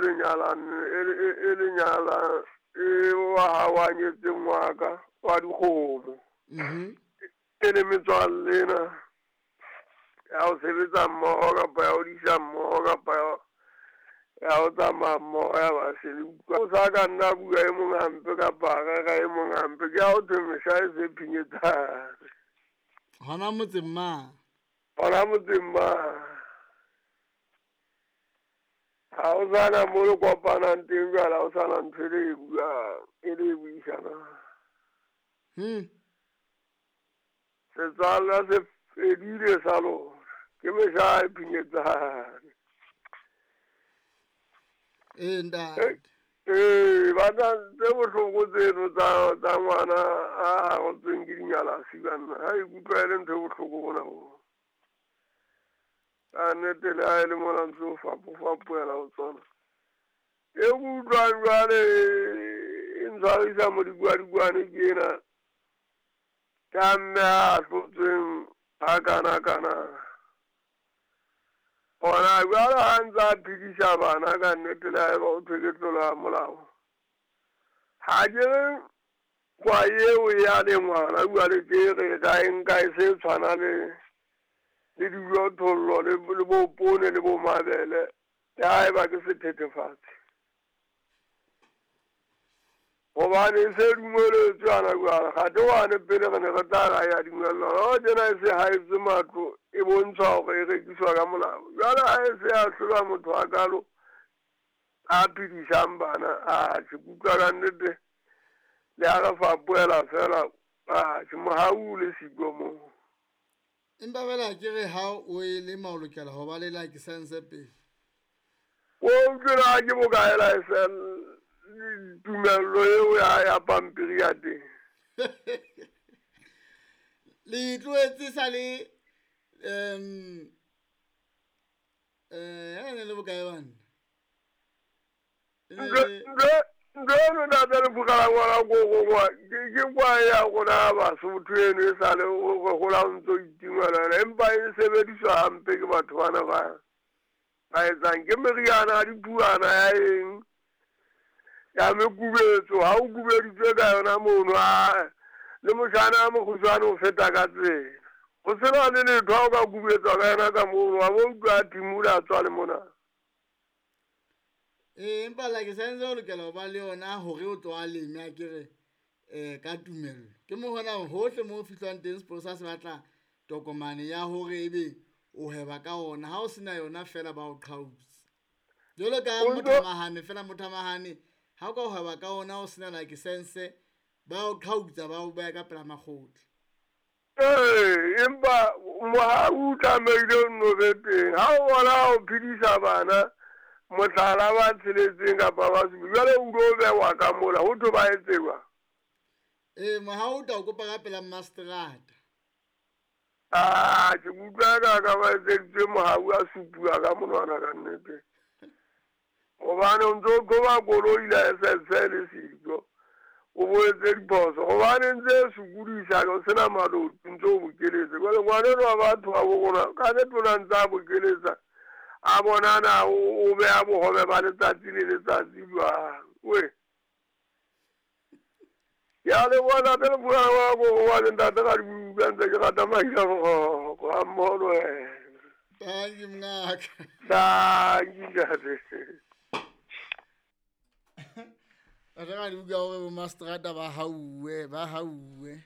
le e le nyala e wa ha wa nyetseng wa ka wa dikgomo. E le metswalle ena ya ho sebetsa mmoho kapa ya ho disa mmoho kapa ya ho tsamaya mmoho ya ba se le utlwa. O sa ka nna bua e mong hampe kapa a rera e mong hampe, ke ha ho thwe mehla e se phinyetsane. Hona motseng mang? Hona motseng mang. Ha o sana mo le kopanang teng jwale, ha o sana ntho e le e buang, e le e buisanang. Setswalle se fedile sa lona, ke mehla e phinyetsane. Ee, ntate. Ee, batla tse bohloko tseno tsa ngwana a harotsweng ke dinyalasi banna. Ha ikutlwa e le ntho e bohloko bona bo. Ka nnete le ha e le mona ntse o fapofapohela ho tsona. E ke utlwang jwale e ntshwarisa modikwadikwane ke ena. Ka mme a hlotsweng ha kana kana. Hona jwale ha ntse a phedisa bana ka nnete le haeba o thwe ke tlolo ya molao. Ha ke re kwa eo ya le ngwana jwale ke re ka e nka e se tshwana le dijothollo le bo poone le bo mabele, le haeba ke sethethefatsi. Hobane e se dumeletswe hana jwale, kgathe wane pele re ne re tla ra ya dumellwa. Ha tjena e se haetswe matlo, e bontshwa hore e rekiswa ka molao. Jwale ha e se a hlola motho a kalo a phedisang bana, atjhe ke utlwa ka nnete le ha re fapohela fela, atjhe mohau le siko moo. Empa fela ke re ha o e lema o lokela ho ba le license pele. O utlwela ke bokae license tumello eo ya pampiri ya teng? Le tlohetse sa le ne le bokae banna? Ntho eno ntate le phukala ngwana ko ke kwa ya rona Basotho eno e sale re hola o ntso itingwela yona, empa e sebediswa hampe ke batho bana ba etsang ke meriana ya diphuwana ya eng ya mekubetso. Ha o kubeditswe ka yona mono, le motjhana a mokgutshwane o feta ka tsela. Ho sena le letho ha o ka kubetswa ka yona ka mono, wa bo utlwa a thimula a tswa le mona. Ee, empa license o lokela ho ba le yona hore o tlo a leme a kere ka tumello. Ke mo hona hohle mo fihlwang teng sepolesa se batla tokomane ya hore ebe o hweba ka ona. Ha o sena yona fela ba o qhautse. Jwalo ka mothamahane fela, mothamahane ha o ka hweba ka ona o sena license ba o qhautsa, ba o beha ka pela makgotla. Ee, empa mohau o tlamehile o nno be teng. Ha o bona o phedisa bana mohlala ba tsheletseng kapa ba supa, jwale o tlo behwa ka mola, ho thwe ba etse jwang? Ee, mohau o tla o kopa ka pela mastrata. Ke utlwa ka ba etseditswe mohau a supuwa ka monwana ka nnete. Hobane o ntso qoba koloi license le siko, o bo etse diphoso. Hobane ntse e sokodisa, o sena maloti, ntse o bokeletse. Jwale ngwana enwa wa batho ba bo rona, ka nnete o na ntse a bokeletsa, a bonana o beha bohobe ba letsatsi le letsatsi jwang. We. Ya le bona ntate le phukala ngwana ko wa le ntate ga di utlwa ntse ke rata mahila boroko ha mmoho le wena. Thank you, mngaka. Thank you, ntate. Ntate ga di utlwa hore bo mastrata ba hauwe, ba hauwe.